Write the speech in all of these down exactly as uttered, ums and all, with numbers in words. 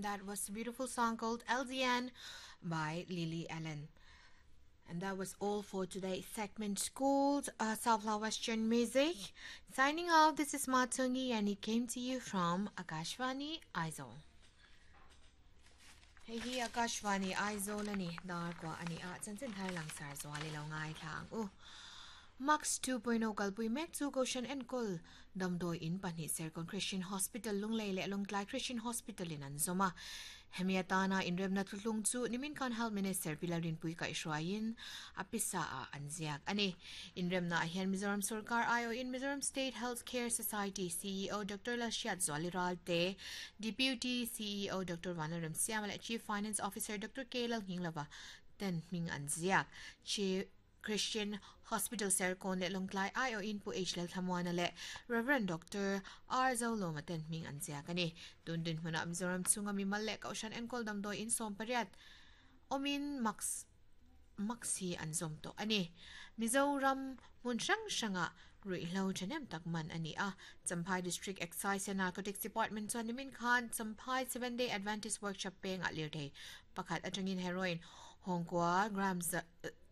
That was a beautiful song called L D N by Lily Allen. And that was all for today's segment called uh, Sunflower Western Music. Signing off, this is Matungi and it came to you from Akashvani Aizawl. Hei hi Akashvani Aizawl ani dar kwa ani a chanchin thar langsar zawali lo ngai thlang u. Max two point zero kalpui mek chu Kohhran enkawl damdawi in pahnih Serkawn Christian Hospital Lunglei leh Lawngtlai Christian Hospital in an zawm a. Hemi atana inremna thuthlung chu nimin khan Health Minister Pi Lalrinpuii kaihhruaiin a pisa ah an ziak a ni. Inremna ah hian Mizoram Sorkar aiawhin Mizoram State Health Care Society C E O Doctor Lalhriatzuali Ralte, Deputy C E O Doctor Vanlalremsiama leh Chief Finance Officer Doctor K Lalnghinglova ten hming an ziak. Christian Hospital Serkawn leh Lawngtlai aiawhin Pu H Lalthlamuana leh Reverend Doctor R Zolawma ten hming an ziak a ni. Tun dinhmunah Mizoram chhunga mimal leh Kohhran enkawl damdawi in sawm pariat awmin Max Max hi an zawm tawh a ni. Mizoram hmun hrang hrangah ruihhlo thahnem tak man a ni a. Champhai District Excise and Narcotics Department chuan nimin khan Champhai Seven Day Adventist Workshop pengah lirthei pakhat atangin heroin hawngkua gram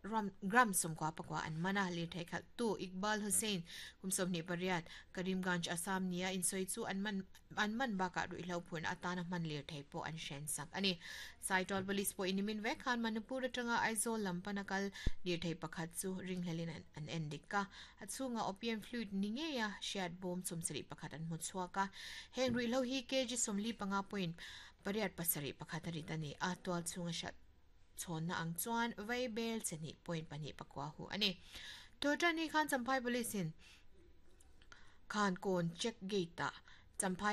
ram gram sawmkua pakua an man a. Lirthei khalh tu Iqbal Hussain kum sawmhnih pariat, Karimganj, Assam nia insawi chu an man an man bakah ruihhlo phurna atana hman lirthei pawh an hren sak a ni. Saitual Police pawh nimin vek khan Manipur atanga Aizawl lam pana kal lirthei pakhat chu ringhlelin an an en dik a. A chhunga opium fluid ni ngeia hriat bawm sawmsarih pakhat an hmu chhuak a. Heng ruihhlo hi kg sawmli panga point pariat pasarih pakhat a rit a ni a. Tual chhunga hriat chhawnna ang chuan vei bel chahnih point pahnih pakua hu a ni. Tawtani khan Champhai Police in Khankawn check gate ah Champhai